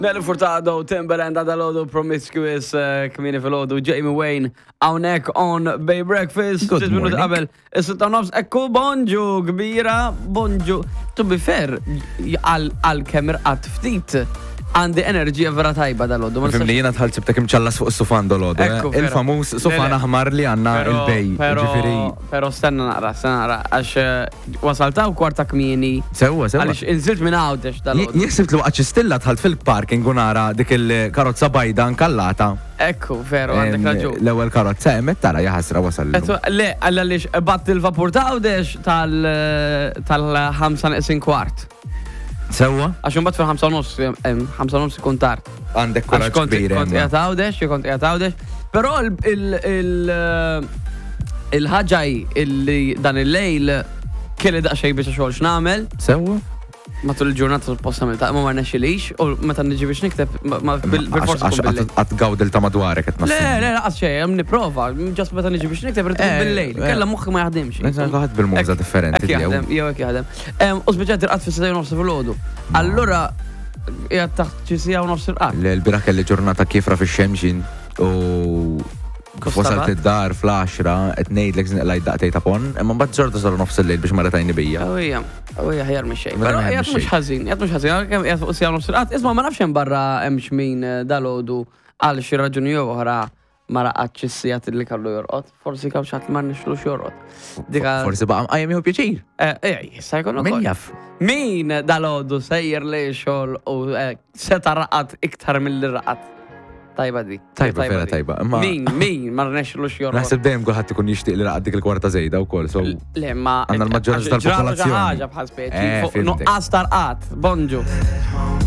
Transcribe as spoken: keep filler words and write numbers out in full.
Nelly Furtado, Timbaland, għadalodu, Promiscuous, eh, kmieni filgħodu, Jamie Wayne, hawnhekk on Bay Breakfast. Good Ftit minuti morning. qabel, is-sitta u nofs, ekku bonġu kbira, bonġu. To be fair, għal għal kemm irqadt ftit, għandi enerġija vera tajba dalgħodu. Ma Fimni, nistax- jiena dħalt sibtek imċallas fuq is-sufan dalgħodu. Ekku, vera. Il-famuż Le, sufan le. aħmar li għandna Pero- il-bej. Pero, Ġifieri, pero stenna naqra, stenna naqra, għax eh, wasaltaw kwarta kmieni. Sewwa, sewwa. Għalix inżilt minn Għawdex dalgħodu. Jien sibt li waqt stilla dħalt fil-parking u nara dik il-karozza bajda nkallata. Ekku, veru, għandek Em, raġun. L-ewwel karozza hemm tara jaħasra wasal. illum. Etu, le, għalla lix bat il-vapur ta' Għawdex tal- tal-ħamsa neqsin kwart. Sewwa? Għax imbagħad fil-ħamsa u nofs, em, ħamsa u nofs ikun tard. Għandek Għax kuraġġ kont kbir. kont Emma. qiegħed Għawdex, jew kont qiegħed Għawdex. Però il- il- il- il-ħaġa hi illi dan il-lejl kelli daqsxejn biex xogħol x'nagħmel Sewwa? matul il-ġurnata suppost għamilta, ma ma rnexxilix u meta niġi biex nikteb ma- ma bil- bil-forsi Għax tkun bil-lejl. għad gawdil ta' madwarek qed Le, le, laqas xejn, hemm nipprova, just meta niġi biex nikteb irid tkun Eh, bil-lejl. eh. Kella moħħi ma jaħdimx. Kulħadd bil-muża Hekk- differenti Hekk tiegħu. jaħdem, jew hekk jaħdem. Em, U spiċċat irqad fis-sitta u nofs filgħodu. Allura qiegħed taħt xi siegħa u nofs irqad. L-bieraħ kelli ġurnata kiefra fix-xemxin u kif wasalt Kostabat? id-dar fl-għaxra qed ngħidlek żinqlajt daqtej ta' pon, imma mbagħad ġorta saru nofs il-lejl biex marret għajni bija. Ewija, ewija ħjar minn xejn. Mela Però ħjar qiegħed minn mhux xejn. ħażin, qiegħed mhux ħażin, għalkemm qiegħed fuq siegħa u nofs irqad. Isma' ma nafx hemm barra hemm xmin eh, dalgħodu għal xi raġuni jew oħra ma raqadx is-sigħat li kellu jorqod. Forsi kemm xi ħadd li ma rnexxlux jorqod. Dika Forsi baqa' mqajjem jieħu pjaċir. Eh, eh, jista' jkun Min ukoll. jaf? Min dalgħodu sejjer li xogħol u eh, seta raqad iktar mill-li raqad. Tajba di. Tajba, vera di. tajba, imma- Min, min, ma rnexxlux jorqod. Naħseb dejjem kulħadd ikun jixtieq li raqad dik il-kwarta żejda wkoll, so Le, ma. Għandna l-maġġoranza għax ġralu xi tal-popolazzjoni. ħaġa bħal speċi. Eh, fuq fimtek. Nuqqas tarqat. Bonġu.